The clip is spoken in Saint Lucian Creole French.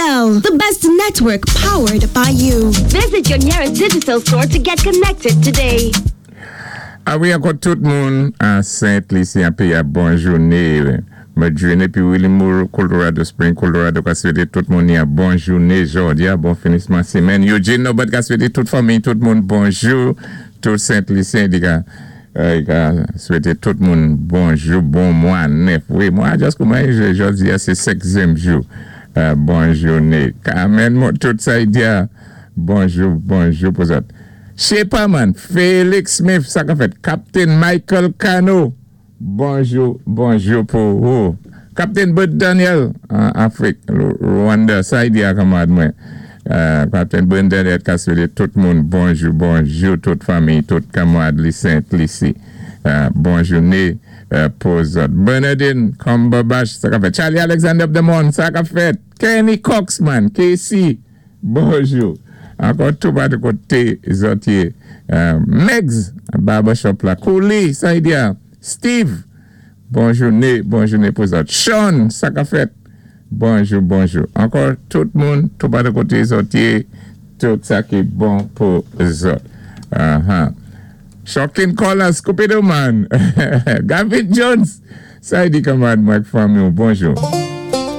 Digicel, the best network powered by you. Visit your nearest Digicel store to get connected today. A wi, ankò tout moun a Sent Lisi an péyi a, bon jouné. Madrine épi Willie Moore, Colorado Spring, Colorado, ka swété tout moun ya bon jouné jòdi a, bon finisman simèn. Eugene Norbert ka swété tout fanmi, tout moun bonjou, tout Sent Lisyen di ka ka swété tout moun bonjou, bon mwa nèf. Wi, mwa a just kouman jòdi a sé senkyèm jou. Bon jouné. Carmen, tout sa y di a, bonjou, bonjou pou zòt. Shepaman, Felix Smith, sa ka fèt. Captain Michael Cano, bonjou, bonjou pou ou. Captain Bud Daniel, an Afrik, Rwanda, sa y di a kanmarad mwen. Captain Bud Daniel ka swété tout moun bonjou, bonjou, tout fanmi, tout kanmarad li Sent Lisi. Bon jouné pou zòt. Bernardine Cumberbatch, sa ka fèt. Charlie Alexander Demon, sa ka fèt. Kenny Cox, man, Casey. Bonjou. Ankò tou patou koté zòt yé. Megs barbershop la. Kouli, sa y di a? Steve, bon jouné, bon jouné pou zòt. Sean, sa ka fèt? Bonjou, bonjou. Ankò tout moun tou patou koté zòt yé, tout sa ki bon pou zòt. Aha. Shocking Colors, Cupido man. Gavin Jones, sa y di kanmarad mwen ak fanmi w, bonjou.